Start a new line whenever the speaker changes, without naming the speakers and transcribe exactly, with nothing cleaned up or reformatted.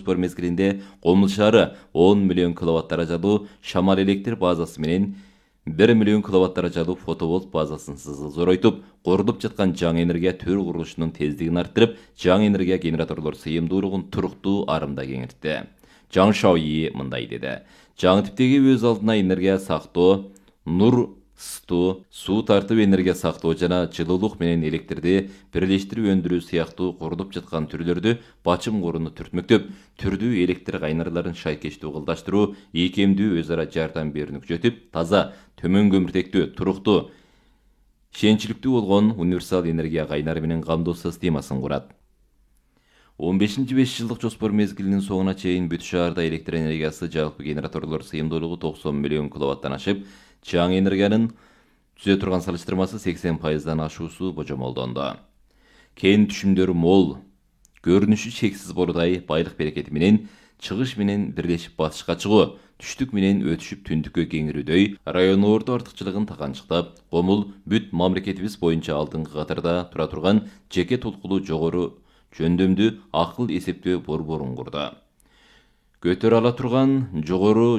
жоспор мезгилинде Комул шаары он миллион киловатт даражалуу шамал электр базасы менен бир миллион киловатт даражалуу фотоволт базасын зоройтуп, корулуп жаткан жаңы энергия төр курулушунун тездигин арттырып, жаңы энергия генераторлор сыйымдуулугун туруктуу арымда кеңейтти. Жаңы Шаои мындай деди. Жаңы типтеги өз алдына энергия сактоо, нур ысытуу, суу тартып энергия сактоо жана жылуулук менен электрди бирлештирип өндүрүү сыяктуу курулуп жаткан түрлөрдү бачым корууну түртмөктөп, түрдүү электр кайнарларын шайкештүү кылдаштыруу, ийкемдүү өз ара жардам берүүнү күчөтүп, таза, төмөн көмүртектүү, туруктуу, ишенчиликтүү болгон универсал энергия кайнары менен камдоо системасын курат. он бешинчи беш жылдык жоспор мезгилинин соңуна чейин бүт шаарда электр энергиясы жалпы генераторлор сыйымдуулугу токсон миллион киловаттан ашып, жаңы энергиянын түзө турган салыштырмасы сексен пайыздан ашуусу божомолдонду. Кен түшүмдөрү мол, көрүнүшү чексиз борудай байлык берекети менен чыгыш менен бирлешип батышка чыгуу, түштүк менен өтүшүп түндүккө кеңирүүдөй район орто артыкчылыгын таканчыктап, Комул бүт мамлекетибиз боюнча алдыңкы катарда тура турган жеке толкулуу жогору жөндөмдүү акыл эсептөө борборун курду. Көтөрө ала турган жогору